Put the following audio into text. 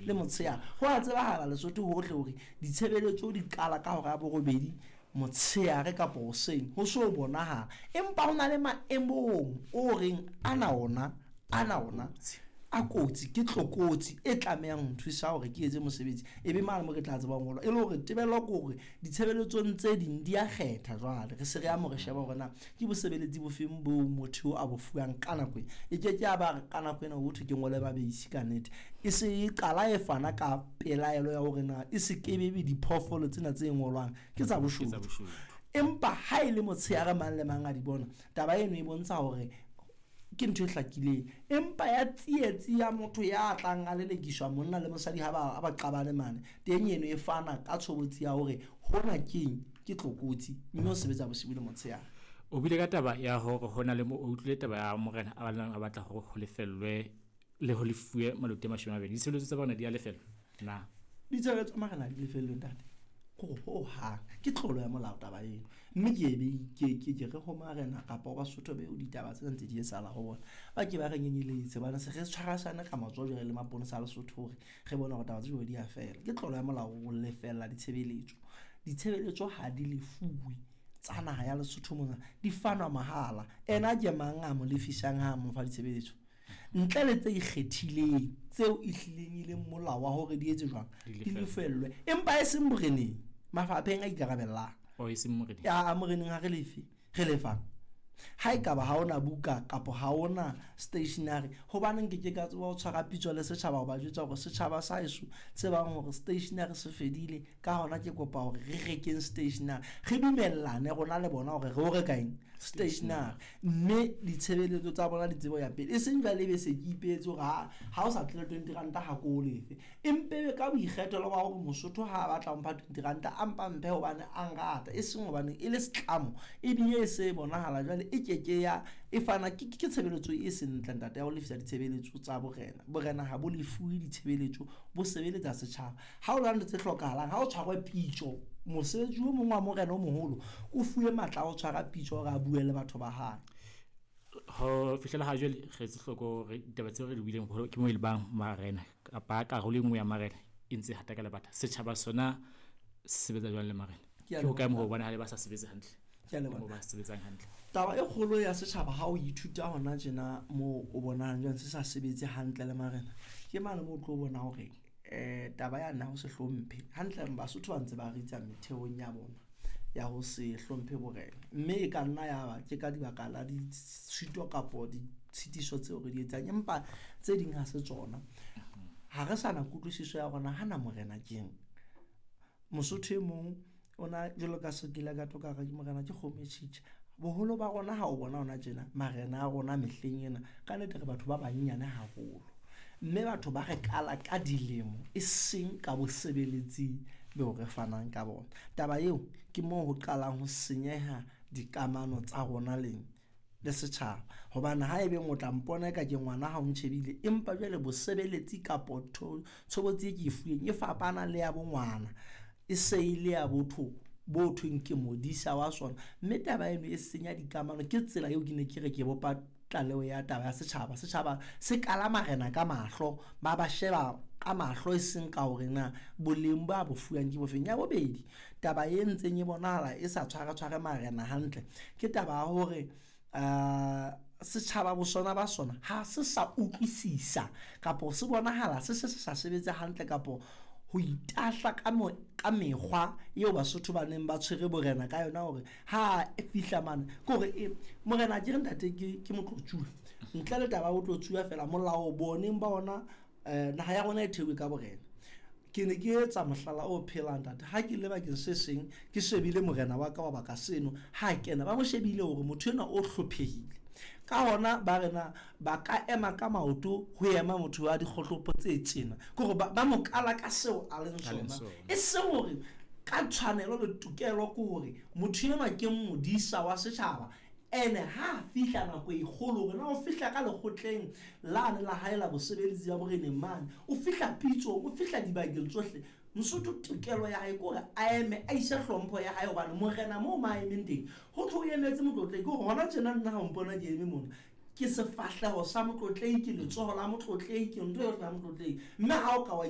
Le motshehare. Ho a tsebahala Lesotho hohle hore ditshebeletso di qala ka hora ya borobedi motshehare kapa hoseng ho so bonahala. Empa ho na le maemong o reng ana ona, ana ona a kotsi, ke tlokotsi e tlamehang ho nthusa hore ke etse mosebetsi. E be mane mo ke tla tsebang ho e le hore tebello ke hore ditshebeletsong tse ding di a kgetha. Jwale re se re ya mo re sheba hore na ke bosebeletsi bofeng boo motho a bo fuwang ka nako ena. E ke ke ya ba ka nako ena ho thwe ke ngole mabeisi ka nnete. E se e qala e fana ka pelaelo ya hore na e se ke be diphoofolo tsena tse ngolwang ke tsa boshodu. Empa ha e le motshehare mang le mang a di bona, taba eno e bontsha hore ke ntho e hlakileng. Empa ya tsietsi ya motho ya tlang a lelekiswa monna le mosadi ha ba qabane mane teng, eno e fana ka tshobotsi ya hore hona keng, ke tlokotsi, mme o sebetsa bosibu le motshehare. O bile ka taba ya hore ho na le mo o utlwile taba ya morena a balang a batla hore ho lefellwe le ho lefuwe maloti a 20. Ditshebeletso tsa bona di a lefellwa na? Ditshebeletso tsa marena di lefellwe ntate, hore ho hang ke tlolo ya molao taba eno. Mme ke ebe ke re ho marena kapa ho Basotho beo ditaba tsena ntse di etsahala ho bona, ba ke ba re nyenyeletse bana se re tshwarasane ka matsoho jwale le maponesa a Lesotho hore re bone hore taba tse jwalo di a fela. Ke tlolo ya molao ho lefella ditshebeletso. Ditshebeletso ha di lefuwe tsa naha ya Lesotho mona, di fanwa mahala. Ena ke mang a mo lefisang ha mo fa ditshebeletso? Ntle le tse ikgethileng tseo e hlileng e leng molao wa hore di etse jwang, di lefellwe, empa e seng boreneng, mafapheng a ikarabellang. O e seng moreneng. Ya moreneng ha re lefe, re lefang. Ha ekaba ha ona buka kapa ha ona stationery, hobaneng ke ke ka tseba ho tshwara pitso le setjhaba ho ba jwetsa hore setjhaba sa heso tsebang hore stationery se fedile, ka hona ke kopa hore re rekeng stationery, re dumellane rona le bona hore re o reka eng stationery, mme ditshebeletso tsa bona di tsebo ya pele. E seng jwale ebe se ke ipehetse hore ha o sa tlele 20 ranta ha ko o lefe, empe ka boikgethelo ba hore Mosotho ha a batla ho mpha 20 ranta a mpa mphe hobane a nrata, e seng hobane e le setlamo, ebile e se bonahala jwale e ke ke ya e fana ke tshebeletso e seng ntle ntate ya ho lefisa ditshebeletso tsa borena. Borena ha bo lefuwe ditshebeletso, bo sebeletsa setjhaba. Ha o na le tse hlokahalang, ha o tshwarwe pitso, mosebetsi o mong wa morena o moholo o fuwe matla a ho tshwara pitso hore a bue le batho ba hae. Ho fihlela ha jwale re etse hloko hore ditaba tseo re di buileng ke mo e le bang marena kapa karolo e nngwe ya marena e ntse hata ka lebata. Setjhaba sona se sebetsa jwang le marena? Ke hokae moo ho bonahala ba sa sebetse hantle? Ke a leboha. Moo ba sebetsang hantle. Taba e kgolo ya setjhaba ha o ithuta hona tjena moo o bonang jwang se sa sebetse hantle le marena, ke mane moo o tlo bona hore taba ya nna ho se hlomphe hantle. Basotho ba ntse ba ritsa metheong ya bona ya ho se hlomphe borena, mme e ka nna ya ba ke ka dibaka la ditshito kapo ditshitiso tseo re di etsang, empa tse ding ha se tsona. Ha re sa na kutlwisiso ya rona hana morena keng. Mosotho e mong ona jwalo ka sekile ka toka re morena ke kgomo e tjhitja. Boholo ba rona ha o bona hona tjena marena a rona mehleng ena, ka nnete re batho ba banyenyane haholo, mme batho ba re kala ka dilemo e seng ka bosebeletsi beo re fanang ka bona. Taba eo ke moo ho qalang ho senyeha dikamano tsa rona leng le setjhaba, hobane ha ebe o tla mpona eka ke ngwana ha o ntjhebile, empa jwale bosebeletsi kapo tshobotsi e ke e fuweng e fapana le ya bongwana, e se e le ya botho bo thweng ke modisa wa sona. Mme taba eno e senya dikamano. Ke tsela eo ke ne ke re ke bopa tlaleho ya taba ya setjhaba. Setjhaba se kala marena ka mahlo, ba sheba ka mahlo e seng ka hore na boleng ba bo fuwang ke bofeng. Ya bobedi, taba e ntseng e bonahala e sa tshware marena hantle ke taba ya hore setjhaba bosona ba sona ha se sa utlwisisa kapo se bonahala se se sa sebetse hantle kapo ho itahla ka mekgwa eo Basotho ba neng ba tshwere borena ka yona hore ha e fihla mane ke hore morena ke re ntate ke motlotsuwa, ntle le taba ya botlotsuwa fela molao boneng ba ona naha ya rona e theuwe ka borena. Ke ne ke etsa mohlala o phelang ntate, ha ke le bakeng se seng ke shebile morena wa ka wa baka seno, ha kena ba mo shebile hore motho enwa o hlophehile, ka hona ba rena ba ka ema ka maoto ho ema motho wa dikgohlopo tse tjena, ke hore ba mo kala ka seo a leng sona, e seng hore ka tshwanelo le tokelo ke hore motho enwa ke modisa wa setjhaba. Ene ha fihla nako e kgolo hore na o fihla ka lekgotleng lane la hae la bosebeletsi ba boreneng mane, o fihla pitsong, o fihla dibakeng tsohle, Mosotho tokelo ya hae ke hore a eme a ise hlompho ya hae, hobane morena moo ma emeng teng ho thwe o emetse motlotlehi. Ke hore hona tjena nna ha o mpona ke eme mona, ke sefahleho sa motlotlehi, ke letsoho la motlotlehi, ke ntho yohle ya motlotlehi. Mme ha o ka wa